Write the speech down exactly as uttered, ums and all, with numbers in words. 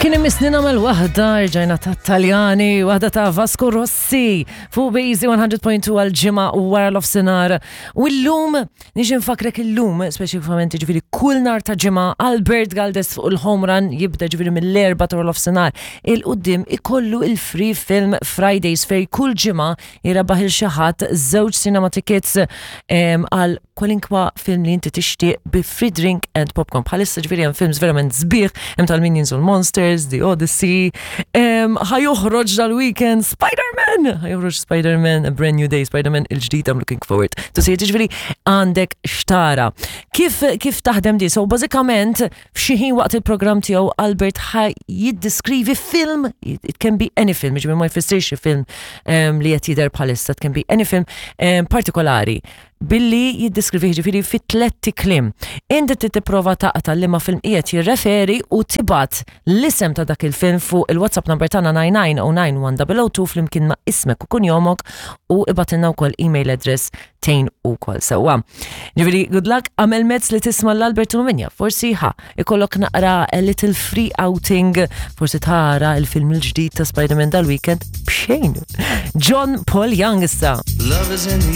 Kien imissni nagħmel waħda, rġajna ta' Taljani, waħda ta' Vasco Rossi, fuq Bejzi mija punt tnejn għal-ġimgħa u wara l-ofsinar. U l-lum, niġi nfakrek il-lum, speċifikament ġifieri kull nhar ta' ġimgħa, Albert Galdes fuq il-Home Run jibda ġifieri mill-erba ta' l-ofsinar. Il-qoddim ikollu il-Free Film Fridays fej kull ġimgħa jirbaħ lil xi ħadd żewġ cinema tickets em, għal kwalinkwa film li inti tixtieq bi free drink and popcorn. Bħalissa ġifieri hemm films verament sbieħ, hemm tal-Minions u l-Monsters, The Odyssey, em, ħa joħroġ dal-weekend Spider-Man! Ħa joħroġ Spider-Man, A Brand New Day, Spider-Man il-ġdid, I'm looking forward to see it. Ġifieri għandek x'tara. Kif, kif taħdem di? So bażikament f'xi ħin waqt il-programm tiegħu Albert ħa jiddiskrivi film, it can be any film, ġifieri ma jfissirx film um, li qed jidher bħalissa, it can be any film um, partikolari billi jiddiskrivi ġifieri fi tletti kliem. Inti trid tipprova taqta' liema film qiegħed jirreferi u tibgħat l-isem ta' dak il-film fuq il-WhatsApp number tagħna tnejn tnejn zero tnejn wieħed zero zero tnejn flimkien ma' ismek u kunjomok u ibgħatilna wkoll email address tejn ukoll sewwa. Ġifieri good luck, għamel mezz li tisma' l-Albert Minja, forsi ħa ikollok naqra a little free outing, forsi tara il-film il-ġdid ta' Spider-Man dal-weekend b'xejn. John Paul Young issa. Love is in the